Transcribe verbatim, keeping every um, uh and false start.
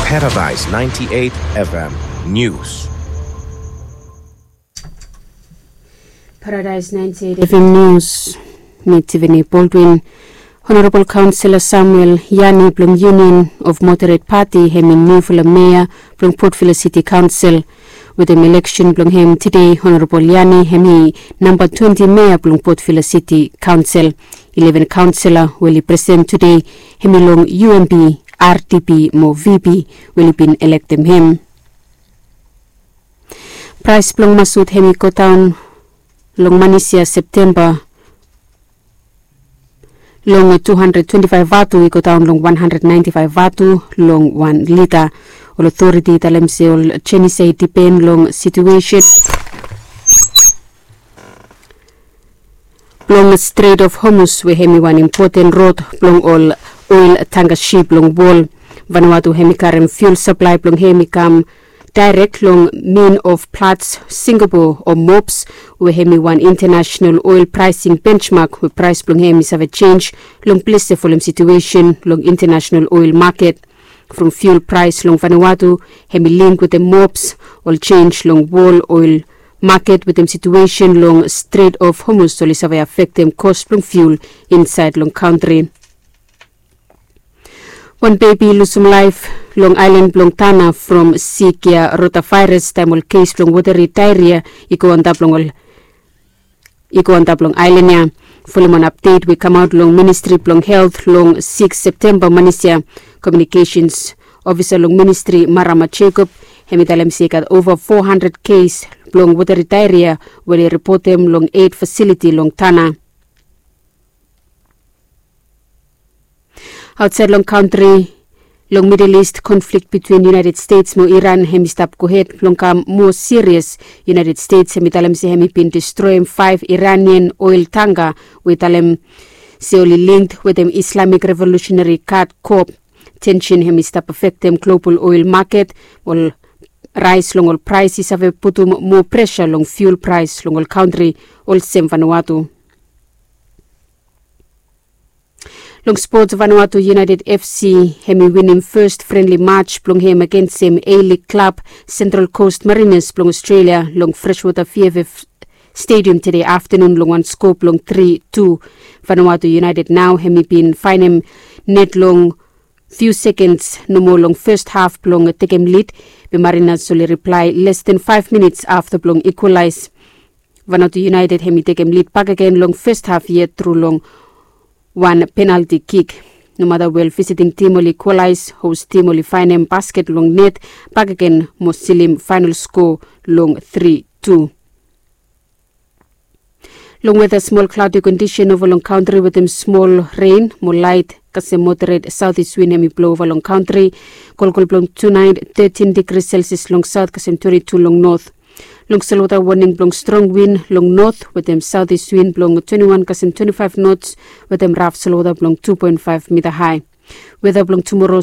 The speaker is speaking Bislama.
Paradise ninety-eight F M News. Paradise ninety-eight F M News. Mi Tiffany Baldwin. Honorabol Kaonsela Samuel Yani blong Union of Moderate Party hem i niufala mea blong Port Vila City Kaonsel. Wetem eleksen blong hem tede, Honorabol Yani hem i namba twenti mea blong Port Vila City Kaonsel. Ileven kaonsela we oli present tede hem i long U M P, R D P mo V P we oli bin elektem hem. Praes blong masut hem i godaon long manis ya Septemba long tu handred twenti faef vatu i godaon long wan handred naenti faef vatu long wan lita. Ol otoriti i talem se ol jenis ya i dipen long situesen blong Strait of Hormuz we hem i wan impoten rod blong ol oel tangka sip long wol. Vanuatu hem i karem fiul saplae blong hem i kam daerek long Min of Platts, Singapore o mops, we hem i wan intanasenal oel praesing bensmak we praes blong hem i save jenj long ples ya folem situesen long intanasenal oel maket. From fiul praes long Vanuatu hem i link wetem mops, ol jenj long wol oel maket wetem situesen long Strait of Hormuz oli save afektem kos blong fiul insaed long kantri. Wan bebi i lusum laef long aelan blong Tana from sik ya rotavaeras taem ol kes blong woteri daeria i go antap long ol i go antap long aelan ya. Folem wan apdet we i kamaot long Ministri blong Helt long sikis Septemba manis ya. Komiunikesens ofisa long ministri Marama Jacob hem i talem se i gat ova fo handred kes blong woteri daeria we oli ripotem long eit fasiliti long Tana. Aotsaed long kantri, long Midel Ist, konflik bitwin United States mo Iran hem i stap gohed blong kam moa sirias. United States hem i talem se hem i bin distroem faef Iranian oel tangka we i talem se oli link wetem Islamik Revolusenari Gad Kop. Tensen hem i stap afektem global oel maket. Ol raes long ol praes i save putum moa presa long fiul praes long ol kantri olsem Vanuatu. Long spots, Vanuatu United F C hem i winim fes frenli mats blong hem agensem A-League klab Central Coast Mariners blong Australia long Freshwater V F F Stadium tede aftenun long wan sko blong tri tu. Vanuatu United nao hem i bin faenem net long fiu sekens nomo long fes haf blong tekem lid, be Mariners oli riplae les den faef minits afta blong ikwalaes. Vanuatu United hem i tekem lid bakegen long fes haf yet tru long wan penalti kik. Nomata wel visiting tim oli ikwalaes, hos tim oli faenem basket long net bakegen mo silim faenol sko long tri tu. Long weta, smol klaodi kondisen ova long kantri wetem smol ren mo laet kasem moderet saotis win hem i blo ova long kantri. Kolkol blong tunaet tetin digri selsias long saot kasem twenti tu long not. Long solwota, woning blong strong win long not wetem saotis win blong twenti wan kasem twenti faef nots wetem raf solwota blong tu poen faef mita hae. Weta blong tumoro.